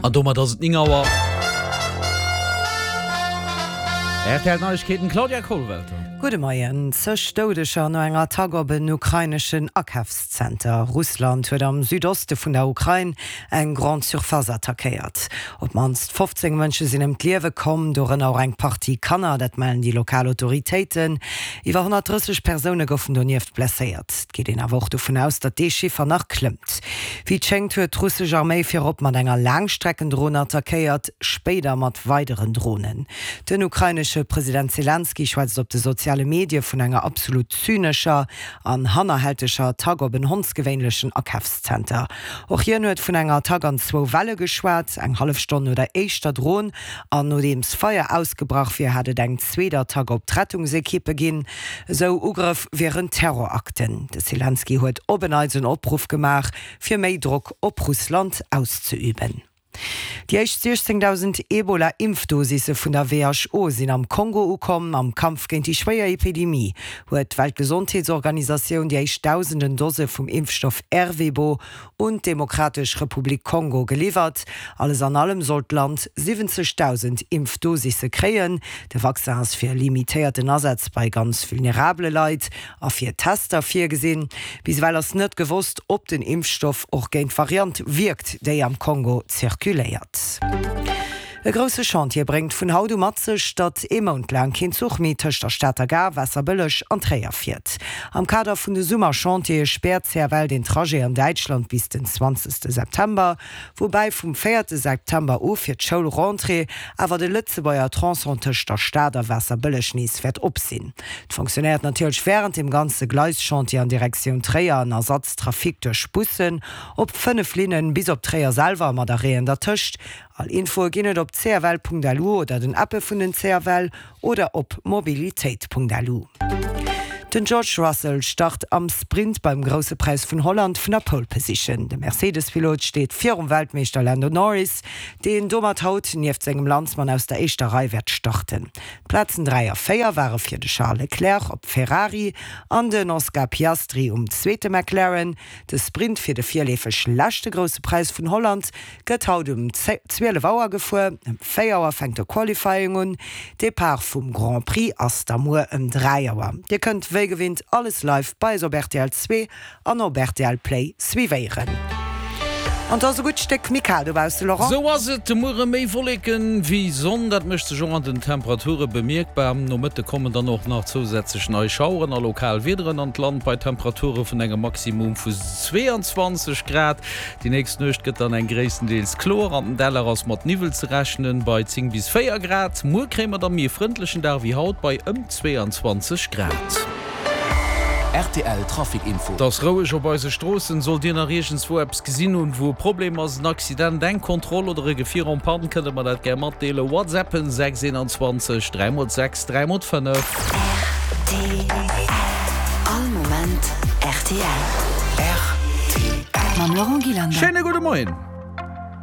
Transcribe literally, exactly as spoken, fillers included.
An domat ass et néng Auer. Rtl Neiegkeeten, Claudia Kollwelter. Gudde Moien. Zeg Doudeger no enger Attack op en ukraineschen Akafszenter. Russland huet am Südoste vun der Ukrain eng Grande Surface attackéiert. Op d'mannst fofzéng Mënsche sinn ëm d'Liewe komm, dorënner och eng Partie Kanner, dat mellen déi lokal Autoritéiten. Iwwer honnertdrësseg Persoune goufen donieft blesséiert. Et geet een awer och dovun aus, datt dee Chiffer nach klëmmt. Wéi et schéngt, huet d'russesch Arméi virop mat enger Laangstreckendron attackéiert, spéider mat weideren Dronen. Den ukrainesche President Selenskyj schwätzt op de soziale Medie vun enger absolut zynescher an hannerhälteger Attack op en hondsgewéinlechen Akafszenter. Och hien huet vun enger Attack an zwou Welle geschwat, eng hallef Stonn no der éischter Dron an nodeems Feier ausgebrach wier, hätt et eng zweet Attack op d'Rettungsekippe ginn. Esou Ugrëff wieren Terrorakten. De Selenskyj huet op en Neits en Opruff gemaach, fir méi Drock op Russland auszeüben. Déi éischt siechzéngdausend Ebola-Impfdosisse vun der W H O sinn am Kongo ukomm. Am Kampf géint déi schwéier Epidemie huet d'Weltgesondheetsorganisatioun déi éischt dausenden Dose vum Impfstoff Ervebo un d'Demokratesch Republik Kongo geliwwert. Alles an allem soll d'Land siwwenzegdausend Impfdosisse kréien. De Vaccin ass fir limitéierten Asaz bei ganz vulnerabele Leit a fir Tester virgesinn. Bis ewell ass net gewosst, ob den Impfstoff och géint d'Variant wierkt, déi am Kongo zirkuléiert. E grousse Chantier bréngt vun haut u mat sech, datt ee Mount laang keen Zuch méi tëscht der Stater Gare, Waasserbëlleg an Tréier fiert. Am Kader vun de Summerchantiere späert C F L den Trajet an Däitschland bis den zwanzegste September, woubäi vum véierte September u fir d'Schoulrentrée awer de Lëtzebuerger Tronçon tëscht der Stad a Waasserbëlleg nees wäert op sinn. Et fonctionnéiert natierlech wärend dem ganze Gleischantier an Direktioun Tréier en Ersatztrafic duerch Bussen op fënnef Linnen bis op Tréier selwer mat Arrêten dertëscht. All Infoe ginn et op C F L Punkt L U oder den Appe vun den C F L oder op mobilitéit Punkt L U. Den George Russell start am Sprint beim Grousse Präis vun Holland vun der Pole Position. De Mercedes-Pilot steet virum Weltmeeschter Lando Norris, deen domat haut nieft sengem Landsmann aus der éischter Rei wäert starten. D'Plazen dräi a véier ware fir de Charles Leclerc op Ferrari an den Oscar Piastri um zweete McLaren. De Sprint fir de virleefeg leschte Grousse Präis vun Holland gëtt haut um zwielef Auer gefuer. Ëm véier Auer fänkt de Qualifying un. Depart vum Grand Prix ass da muer ëm dräi Auer. Dir kënnt wéi gewinnt alles live bei eis op R T L zwee an op R T L Play suivéieren. An et ass e gutt Stéck méi kal dobausse, Laurent. Sou ass et, de Muere méi Wolleken wéi Sonn, dat mécht sech och an den Temperature bemierkbar. Am Nomëtte kommen dann och nach zousätzlech nei Schaueren a lokal Wiederen an d'Land bei Temperature vun engem Maximum vu zweeanzwanzeg Grad. Déi nächst Nuecht gëtt dann eng gréisstendeels kloer, an den Däller ass mat Niwwel ze rechnen bei zéng bis véier Grad. Muer kréie mer dann méi e frëndlechen Dag wéi haut bei ëm zweeanzwanzeg Grad. R T L Trafic Info. Et ass roueg op eise Stroossen. Sollt Dir nach iergendswou eppes gesinn hunn, wou e Problem ass, en Accident, eng Kontroll oder e Gefier en panne, kënnt Der mer dat gär matdeelen. WhatsAppen sechs eenanzwanzeg dräi mol sechs dräi mol fënnef. R T L. All Moment R T L. R T L. Mam Laurent Gillander. Schéine gudde Moien.